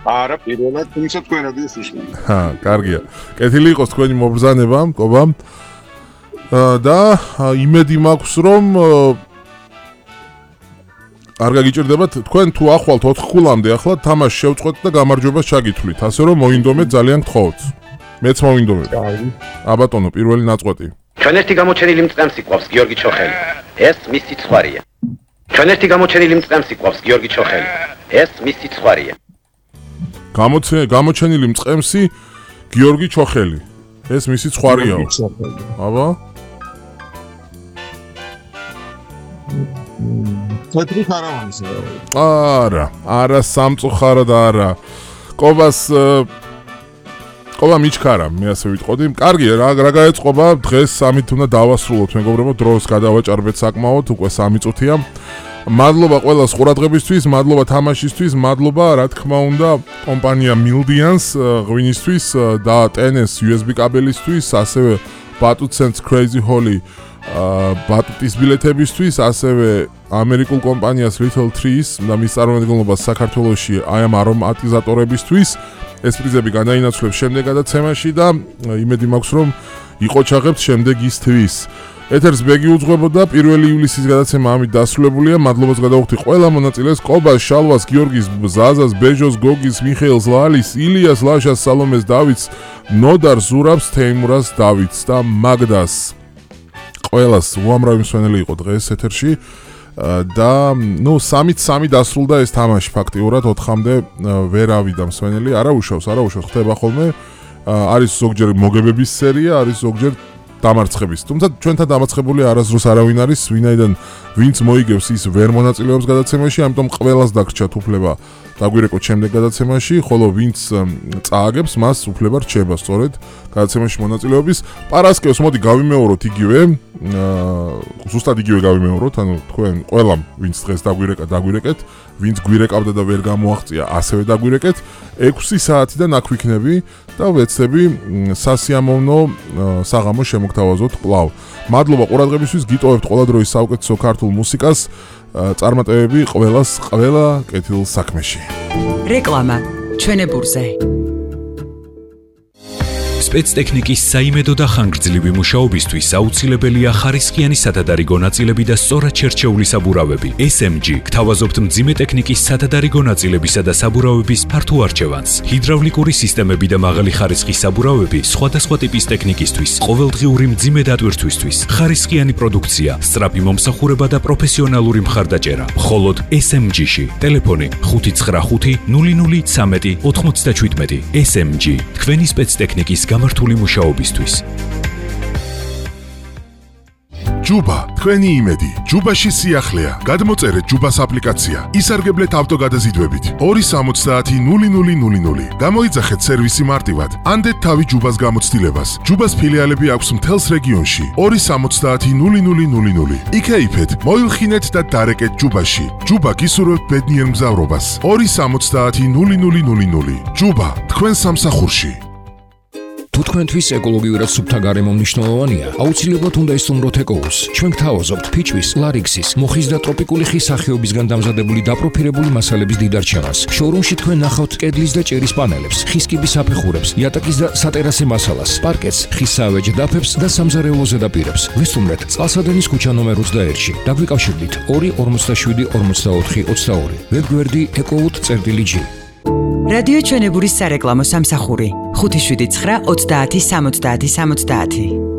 არა, პირველად თუმცა თქვენ რადიოს უსმენთ. კარგია. კეთილი იყოს თქვენი მობრძანება, მკობა. და იმედი მაქვს, რომ არ გაგიჭირდებათ თქვენ თუ ახვალთ 4 ქულამდე ახლა თამაში შევწყვეტ და გამარჯვებას ჩაგითვლით, ასე რომ მოინდომეთ ძალიან გთხოვთ. მეც მოვინდომებ. აბატონო, პირველი ნაწყვეტი. ჩვენ ერთი გამოჩენილი მწყემსი გვყავს გიორგი ჩოხელი. ეს მის სიცხვარია. ჩვენ ერთი გამოჩენილი მწყემსი გვყავს გიორგი ჩოხელი. ეს მის სიცხვარია. გამოჩენილი მწყემსი გიორგი ჩოხელი. ეს მისი ცხვარიაო. აბა? თეთრი ხარავანი. არა, სამწუხაროდ და არა. ყობა მიჩქარა, მე ასე ვიტყოდი. კარგია, რა გაეწყობა? დღეს სამით უნდა დავასრულოთ, მეგობრებო, დროს გადავაჭარბეთ საკმაოდ, უკვე 3 წუთია. მადლობა ყველას ყურადღებისთვის, მადლობა თამაშისთვის, მადლობა რა თქმა უნდა კომპანია Mildians ღვინისთვის და TNS USB კაბელისთვის, ასევე Batutsense Crazy Holly ბატუტის ბილეთებისთვის, ასევე ამერიკულ კომპანიას Little Trees და მის წარმომადგენლობას საქართველოში აი ამ არომატიზატორებისთვის. ეს პრიზები განაინაცვლებს შემდეგ გადაცემაში და იმედი მაქვს რომ იყოჩაღებთ შემდეგ ის თვის. ეთერს ბეგი უძღვებოდა 1 ივლისის გადაცემა ამით დასრულებულია. მადლობას გადავუხდი ყველა მონაწილეს: ყობას, შალვას, გიორგის, ზაზას, ბეჟოს, გოგის, მიხეილს, ლალის, ილიას, ლაშას, სალომეს, დავითს, ნოდარ, ზურაბს, თეიმურას, დავითს და მაგდას. ყველას უამრავი მსვენელი იყო დღეს ეთერში და 3-3 დასრულდა ეს თამაში ფაქტიურად 4-მდე ვერ ავიდა მსვენელი. არა უშავს, ხდება ხოლმე. არის ზოგჯერ მოგებების სერია, არის ზოგჯერ დამარცხების. თუმცა ჩვენთან დამარცხებული არასდროს არავინ არის, ვინც მოიგებს ის ვერ მონაწილეობს გადაცემაში, ამიტომ ყველას დაგრჩათ უფლება დაგვირეკოთ შემდეგ გადაცემაში, ხოლო ვინც წააგებს, მას უფლება რჩება სწორედ გადაცემაში მონაწილეობის. პარასკევს მოდი გავიმეოროთ იგივე, ზუსტად იგივე გავიმეოროთ, ანუ თქვენ ყველამ ვინც დღეს დაგვირეკეთ, ვინც გვირეკავდა და ვერ გამოაღწია, ასევე დაგვირეკეთ. 6 საათიდან აქ ვიქნები და ვეცდები სასიამოვნო საღამო შემოგთავაზოთ კვლავ. მადლობა ყურადღებისთვის, გიტოვებთ ყველა დროის საუკეთესო ქართულ მუსიკას, წარმატებები ყველა კეთილ საქმეში. რეკლამა ჩვენებურზე. სპეცტექნიკის საიმედო და ხანგრძლივი მუშაობისთვის აუცილებელია ხარისხიანი სათადარიგო ნაწილები და სწორად შერჩეული საბურავები. SMG გთავაზობთ მძიმე ტექნიკის სათადარიგო ნაწილებისა და საბურავების ფართო არჩევანს. ჰიდრავლიკური სისტემები და მაღალი ხარისხის საბურავები სხვადასხვა ტიპის ტექნიკისთვის, ყოველდღიური მძიმე დატვირთვისთვის. ხარისხიანი პროდუქცია, სწრაფი მომსახურება და პროფესიონალური მხარდაჭერა. მხოლოდ SMG-ში. ტელეფონი 595 0013 97. SMG თქვენი სპეცტექნიკის გამართული მუშაობისთვის. ჯუბა, თქვენი იმედი. ჯუბაში სიახლეა. გადმოწერეთ ჯუბას აპლიკაცია. ისარგებლეთ ავტოგადაზიდვებით. 270-0000. გამოიძახეთ სერვისი მარტივად. ანდეთ თავი ჯუბას გამოცდილებას. ჯუბას ფილიალები აქვს მთელს რეგიონში. 270-0000. იქეიფეთ, მოილხინეთ და დარეკეთ ჯუბაში. ჯუბა გისურვებთ ბედნიერ მგზავრობას. 270-0000. ჯუბა, თქვენ სამსახურში. თუ თქვენთვის ეკოლოგიურად სუფთა გარემო მნიშვნელოვანია, აუცილებლად უნდა ისტუმროთ ეკოუს. ჩვენ გთავაზობთ ფიჭვის, ლარიქსის, მოხის და ტროპიკული ხის სახეობისგან დამზადებული დაპროფილებული მასალების დიდარჩევას. შოურუმში თქვენ ნახავთ კედლის და ჭერის პანელებს, ხის კიბის აფეხურებს, იატაკის და სატერასე მასალას, პარკეტს, ხის საავეჯ დაფებს და სამზარეულო ზედაპირებს. ვისტუმრეთ წყალსადენის ქუჩა ნომერ 21-ში. დაგვიკავშირდით 247 44 22. ვებგვერდი ecout.gr. რადიო ჩვენებურის სარეკლამო სამსახური 579 30 70 70.